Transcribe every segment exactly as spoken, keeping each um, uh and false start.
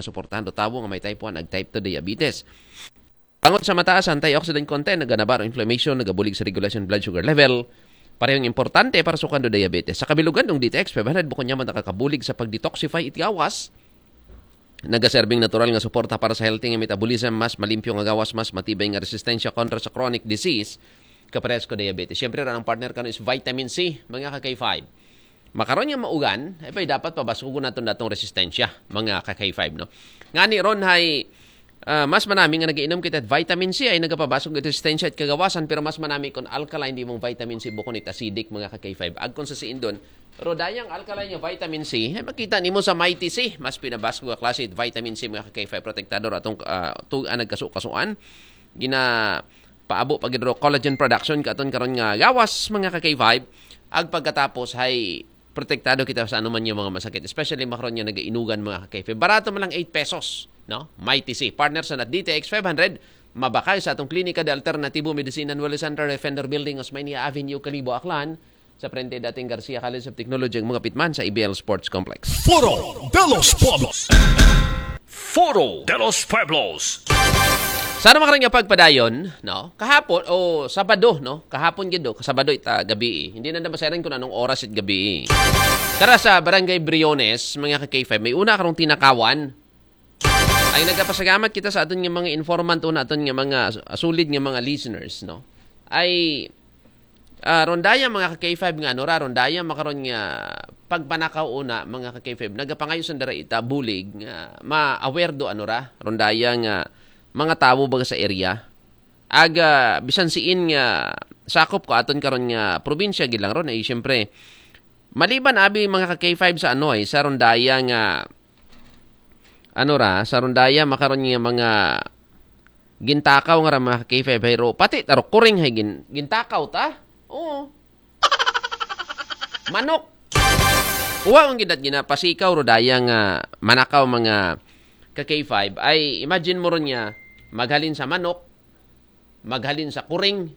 suportahan do tawo nga may type one ag type two diabetes. Bangod sa mataas antioxidant content, naganabaro inflammation, nagabulig sa regulation blood sugar level. Parehong importante para sukan do diabetes. Sa kabilugan dong D T X five hundred, bukon niya man nakakabulig sa pag-detoxify it gawas. Nagaserbing natural nga suporta para sa healthy nga metabolism, mas malimpyo nga gawas, mas matibay nga resistensya kontra sa chronic disease, kaparehas ko diabetes. Siyempre, ran ang partner kano is vitamin C, mga ka-K five. Makaron nga maugan, ay pa'y dapat pabaskugon naton datong resistensya, mga ka-K five, no? Ngani ron hay, ah, mas manami nga nagainom kita vitamin C ay nagapabasog ito resistensya at kagawasan, pero mas manami kung alkaline di mong vitamin C bukon it acidic, mga ka-K five. Agkon sa siin don, rodayang alkaline nga vitamin C, ay makita nimo sa Mighty C, mas pinabasog nga klase it vitamin C, mga ka-K five, protektador atong, ah, tug-an nagkasu-kasuan. Gina paabo pa gid ro collagen production katon karon nga gawas, mga ka-K five. Ag pagkatapos hay protektado kita sa anuman nga mga masakit, especially makaron nga nagainugan, mga ka-K five. Barato man lang eight pesos, no? Mighty C, partner sa nat D T X five hundred, mabakay sa atong Klinika de Alternatibo Medicina Nuevo Center, Defender Building, Osmeña Avenue, Kalibo, Aklan, sa frente dating Garcia College of Technology, ang mga pitman sa A B L Sports Complex. Foro de los Pueblos. Foro de los Pueblos. Sa naman nga pagpadayon, no? Kahapon, o Sabado, no? Kahapon gid, o, Sabado ita gabi, eh. Hindi na naman sairan kung anong oras it gabi, eh. Tara sa Barangay Briones, mga ka-K five, may una karong tinakawan. Ay, nagapasalamat kita sa aton nga mga informant o na aton nga mga s-, sulid nga mga listeners, no? Ay, ah, rondaya, mga ka-K five, nga ano ra, rondaya makaron nga pagpanakaw una, mga ka-K five, nagapangayo sanda ra ita bulig nga ma-aware do ano ra, rondaya nga mga tawo baga sa area. Aga, bisan siin nga sakop ko aton karon nga probinsya gid lang ron, ay siyempre, maliban abi, mga ka-K five, sa ano, ay sa rondaya nga ano ra, sa rondaya makaron nga mga gintakaw nga ra, mga ka-K five, hay ro, pati taro kuring hay gin-, gintakaw ta. Oo. Manok. Uwa ang gidat ginapasikaw rodaya nga manakaw, mga ka-K five, ay imagine mo ron nga maghalin sa manok, maghalin sa kuring.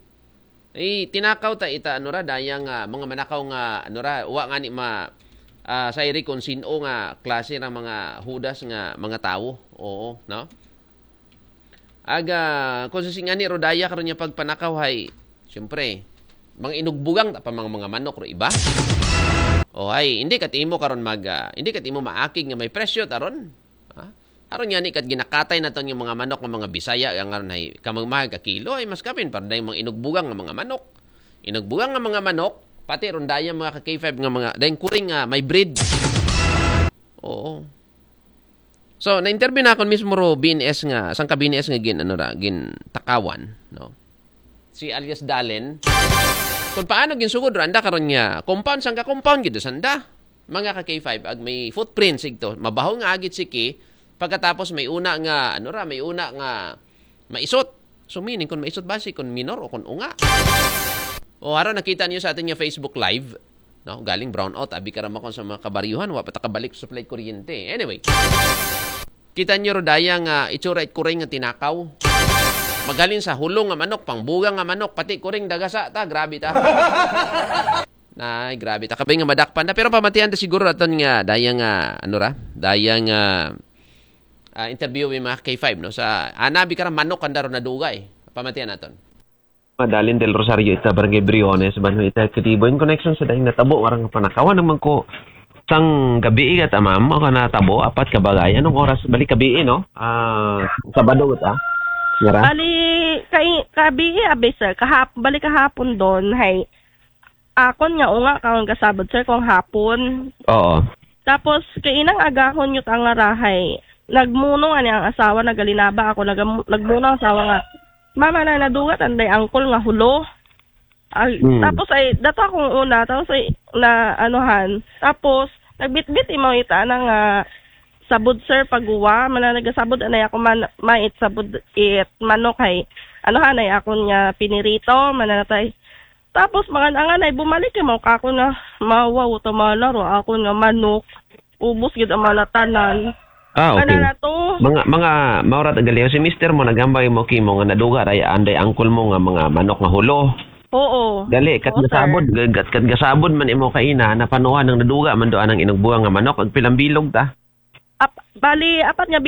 Eh, tinakaw ta ita, ano ra, daya nga mga manakaw nga, ano ra, wa nga ni ma-, ah, sairi kung sino nga klase ra mga hudas nga mga tawo. Oo, no? Aga, kung sa singani rodaya karon nga pagpanakaw hay, siyempre, mga inugbugang ta pa mga, mga manok ro iba. O ay, hindi kat imo karon mag, ah, hindi kat imo maakig nga may presyo taron. Ha? Aron nga ni kat ginakatay naton nga mga manok nga mga Bisaya, nga ngaron hay kamangmahal ka kilo, ay mas kapin para dayong mga inugbugang nga mga manok. Inugbugang nga mga manok, pati ron dayang mga ka-K five nga mga, dayong kuring nga may breed. Oo. So, na-interview na akon mismo ro B N S nga, sangka B N S nga gin, ano ra, gin takawan, no? Si alias Dalen. Kung paano ginsugod ra anda karon nga compound, sangka compound gid sanda. Mga ka-K five, ag may footprint sigto. Mabaho nga agit siki, pagkatapos may una nga, ano ra, may una nga maisot. So, meaning, kung maisot ba si, kung minor o kung unga? O, haro nakita niyo sa atin nga Facebook Live, no? Galing brownout, abi ka ramakon sa mga kabaryuhan, wa pa ta kabalik supply kuryente. Anyway, kita niyo rodaya nga itsura it kuring nga tinakaw. Magaling sa hulong nga manok, pangbuga nga manok, pati kuring dagasa ta, grabe ta. Nay, grabe ta. Kabay nga madakpan na. Pero pamatian ta siguro aton nga, daya nga, ano ra? Daya nga, ah, interview yung mga K five, no? Sa, anabi ka ra manok, kanda ro naduga, eh. Pamatian naton. Madalin del Rosario, ita Barangay Briones, ban ita katibo in connection sa dahil natabo, warang panakawan naman ko sang gabi igat amam, o ka natabo, apat ka bagay. Anong oras? Balik gabi, no? Ah, Sabado, ah. Yara? Bali, kay, gabi, abi, sir. Kahap-, bali kahapon don, hay, akon nga unga karon kasabot, sir, kung hapon. Oo. Tapos, kay inang agahon yung tangarahay, nagmunong ani ang asawa, nagalinaba ako, nagam-, nagmunong ang asawa nga, "Mama, na, nadugat anday angkol nga hulo." Ay, Mm. Tapos ay, dato akong una, tapos ay, na, anuhan. Tapos, nagbitbit imaw ita na nga, sabod, sir, paguwa, mana nagasabod, anay ako man, mait, sabod, it, manok, hay, anuhan, ay, akon nga, pinirito, mananatay. Tapos, mangan-angan ay bumalik yung mga kako na, mawaw, tamalaro, ako nga manok. Ubos gid ang mga tanan. Ah, okay. Ano na to? Mga, mga, maurat ang galiw. Si mister mo, nagambay mo, kimo, nga naduga, ay, anday angkol mo nga mga manok nga hulo. Oo. Gali, kat Oo, sir. Gasabod, gat, kat gasabod man imo kaina, napanuhan ng naduga, man doon ang inugbuang nga manok, ag pilang bilog ta. Ap-, bali, apat nga